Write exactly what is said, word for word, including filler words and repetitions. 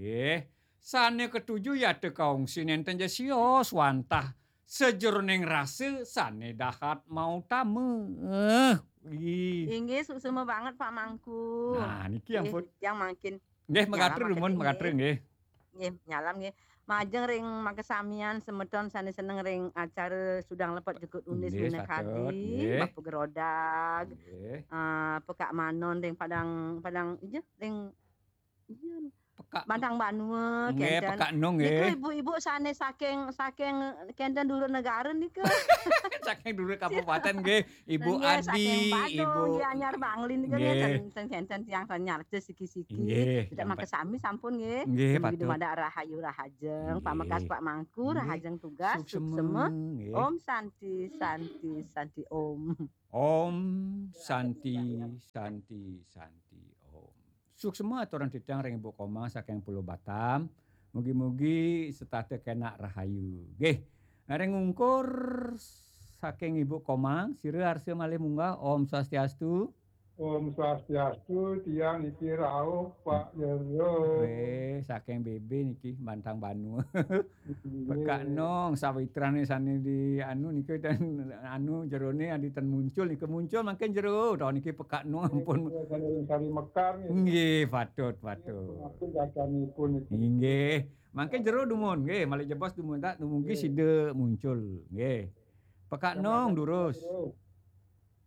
Nggih, sane ketuju yata kaungsi nenten ja sios wantah sajeroning rasa sane dahat mautama. Eh, ih. Inggih, suksma banget, Pak Mangku. Nah, niki nggih, ampun. Tiang mangkin nggih, nyalam makatru dumun, makatru nggih. Nggih, nyalam nggih. Majeng ring makasamian semeton sane seneng ring acara Sudang Lepet Jukut Unis nggih, minakadi, patut, nggih. Bapa Gerodag, nggih. Eh, Pekak Manon ring Padang, Padang, iya, ring, iya. Pekak Bantang Banua, nggih, kenten. Pekak Nong, nika nggih. Ibu-ibu sane saking, saking kenten dulur negara nika. Saking dulur kabupaten, nggih. Ibu nggih, Adi, saking Badung, Ibu nggih, Anyar Bangli nika nggih, nggih. Ten, ten kenten tiang ten nyarca siki-siki. Nggih, tidak yang makasami sampun nggih. Nggih, patut. Dumadak rahayu rahajeng, nggih. Pamekas Pak Mangku, nggih. Rahajeng tugas, suksema, suksema. Nggih. Om Santi, Santi, Santi Om. Om Santi, Santi, Santi Om. Suksema aturang titiang ring Ibu Komang saking Pulau Batam. Mugi-mugi setata kenak rahayu. Nggih. Ring ungkur saking Ibu Komang, sira arsa malih munggah. Om Swastiastu. Om Swastiastu, tiang niki rauh, Pak Jero. Weh, saking B B niki, Bantang Banua. Nggih. Pekak Nong, sawitrane sane di anu nika ten anu jerone adi ten muncul nika muncul mangkin jero. Taun niki Pekak Nong ampun. Nggih, sane ring Sari Mekar nggih. Nggih, patut, patut. Ampun gadanipun niki. Nggih. Mangkin jero dumun, nggih, malih jebos dumun tak dumugi nggih. Sida muncul, nggih. Pekak Nong durus. Jero.